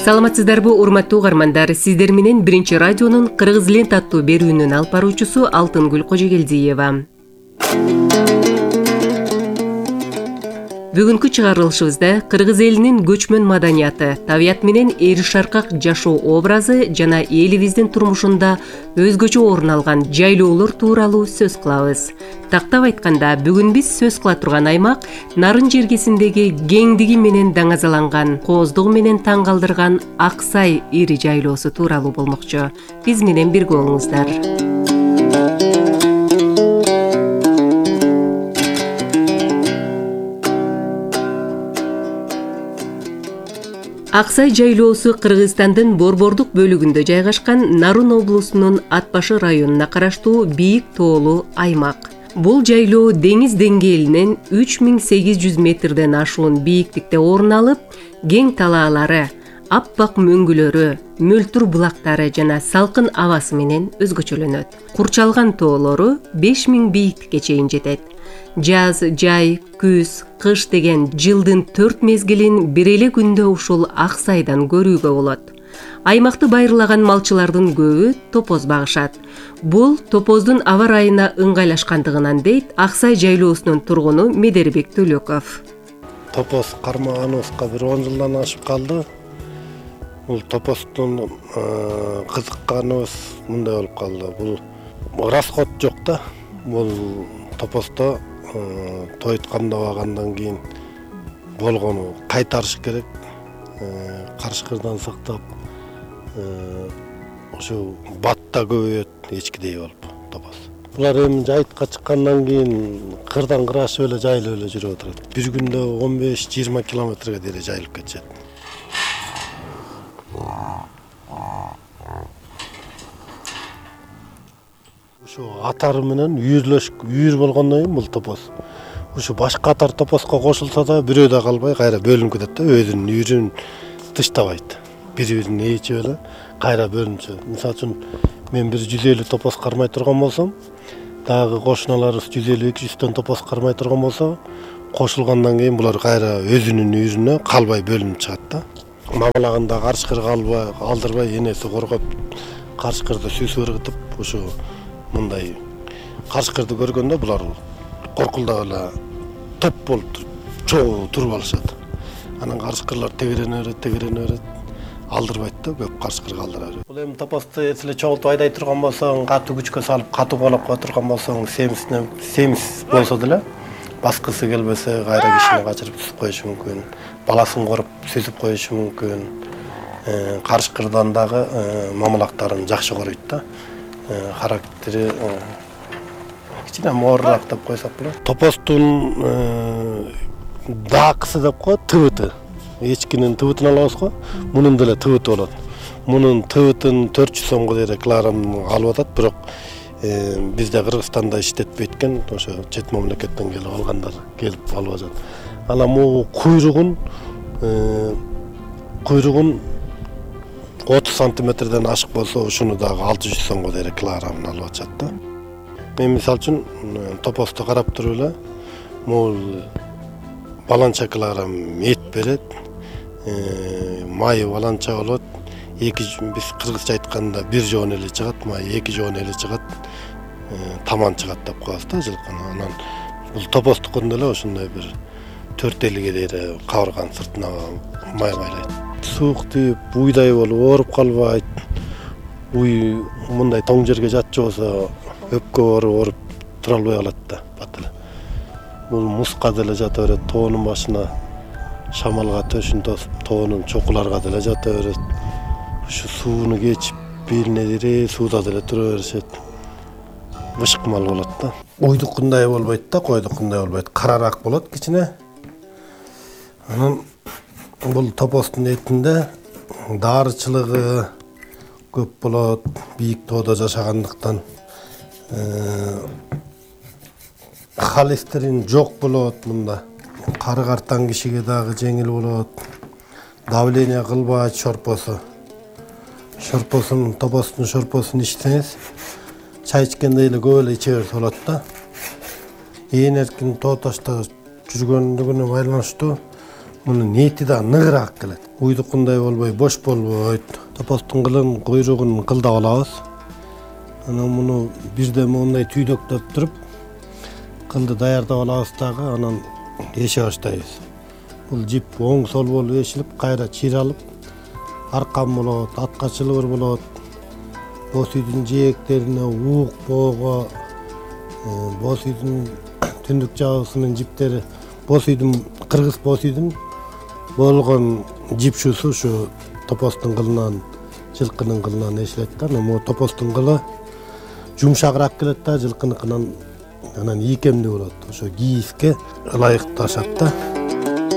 Саламатсыздарбы, урматтуу угармандар? Сиздер менен Биринчи радионун Кыргыз лент аттуу берүүнүн алып баруучусу Алтынгүл Кожогелдиева. Бүгүнкү чыгарылышыбызда кыргыз элинин көчмөн маданияты, табият менен эри шаркак жашоо образы жана элибиздин турмушунда өзгөчө орун алган жайлоолор тууралуу сөз кылабыз. Тактап айтканда, бүгүн биз сөз кыла турган аймак Нарын жергесиндеги кеңдиги менен даңазаланган, кооздугу менен таң калтырган Ак Сай ири жайлоосу тууралуу болмокчу. Биз менен бирге болуңуздар. Ак Сай жайлоосу Кыргызстандын Борбордук бөлүгүндө жайгашкан Нарын облусунун Ат башы районуна караштуу бийик тоолуу аймак. Бул жайлоо деңиз деңгээлинен 3800 метрден ашуун бийиктикте орун алып, кең талаалары, аппак мөңгүлөрү, мөлтүр булактары жана салкын абасы менен өзгөчөлөнөт. Курчалган тоолору 5000 бийиктикке чейин жетет. Жаз, жай, күз, кыш деген жылдын 4 мезгилин бир эле күндө ушул Ак Сайдан көрүүгө болот. Аймакты байырлаган малчылардын көбү топоз багышат. Бул топоздун аба ырайына ыңгайлашкандыгынан дейт Ак Сай жайлоосунун тургуну Медербек Төлөков. Топоз кармаганыбызга бир 10 жылдан ашып калды. Бул топоздун кызыкканыбыз мындай болуп калды. Бул расход жок да. Бул топоздо тоюткандабагандан кийин болгону кайтарыш керек. Карышкырдан сактап, ошо батта көбөйөт эчкидей болуп топоз. Булар эми жайытка чыккандан кийин кырдан кырашып эле жайылып эле жүрүп отурат. Бир күндө 15-20 километрге дейин жайылып кетишет. Ушу атары менен үйүр болгондон кийин бул топоз. Ушу башка атар топозго кошулса да бирөө да калбай кайра бөлүнүп кетет да, өзүнүн үйүрүн тыштабайт. Бири-бирин ээчип эле кайра бөлүнүп чыгат. Мисалы үчүн мен бир 150 топоз кармай турган болсом, дагы кошуналарыбыз 150-200 топоз кармай турган болсо, кошулгандан кийин булар кайра өзүнүн үйүрүнө калбай бөлүнүп чыгат да. Мамалагында карышкыр алдырбай энеси коргоп, карышкырды сүйсүп ыргытып, ушу мындай карышкырды көргөндө булар коркулдап эле топ болуп чогуу туруп алышат. Анан карышкырлар тегерене берет, алдырбайт да, көп карышкырга алдыра берет. Бул эми топозду эсиле чогултуп айдай турган болсоң, катуу күчкө салып, катуу колоп кое турган болсоң, семиз болсо деле баскысы келбесе кайра кишини качырып түсүп коюшу мүмкүн. Баласын коруп сүзүп коюшу мүмкүн. Карышкырдан дагы мамалактарын жакшы коруйт да. Характери кичине моорураак деп койсок болот. Топоздун даакысы деп коет, тыбыты. Эчкинин тыбытын алабызго, мунун деле тыбыты болот. Мунун тыбытын 400 сомго дейин килограмм алып атат, бирок бизде Кыргызстанда иштетпейт экен, ошо чет мамлекеттен келип алгандар келип алып атат. Анан могу куйругун 30 сантиметрден ашык болсо, ушуну дагы 600 сомго дейин килограммын алып атышат да. Мен мисалы үчүн топозду карап туруп эле, могул баланча килограмм эт берет, майы баланча болот. Биз кыргызча айтканда бир жоон эле чыгат, май 2 жоон эле чыгат, таман чыгат деп коебуз да жылкыны. Анан бул топоздукун деле ошондой бир 4-50ге дейин кабырганын сыртына май байлайт. Суук тийип, уйдай болуп ооруп калбайт. Уй мындай тоң жерге жатчу болсо, өпкө ооруп тура албай калат да, бат эле. Бул муска деле жата берет, тоонун башына шамалга төшүн тосуп, тоонун чокуларга деле жата берет. Ушу сууну кечип, белине дире сууда деле тура беришет. Бышкымал болот да. Уйдукундай болбойт да, койдукундай болбойт. Карараак болот кичине. Анан бул топоздун этинде дарычылыгы көп болот, бийик тоодо жашагандыктан. Холестерин жок болот мында. Кары картан кишиге дагы жеңил болот. Давление кылбайт шорпосу. Топоздун шорпосун ичсеңиз, чай ичкенде эле көп эле иче берсе болот да. Ээн эркин тоо ташта жүргөндүгүнө байланыштуу мунун эти да ныгыраак келет. Уйдукундай болбой, бош болбойт. Топостун кылын, куйругун кылдап алабыз. Анан муну бирден моундай түйдөктөп туруп, кылды даярдап алабыз дагы, анан эше баштайбыз. Бул жип оң сол болуп эшилип, кайра чыйралып, аркан болот, атка чылбыр болот. Боз үйдүн жээктерине, уук боого, боз үйдүн түндүк жабысынын жиптери, боз үйдүн, кыргыз боз үйдүн болгон жипшусу ушу топостун кылынан, жылкынын кылынан эшилет да. Анан топостун кылы жумшагыраак келет да, жылкыныкынан анан ийкемдүү болот. Ошо кийизге ылайыкташат да.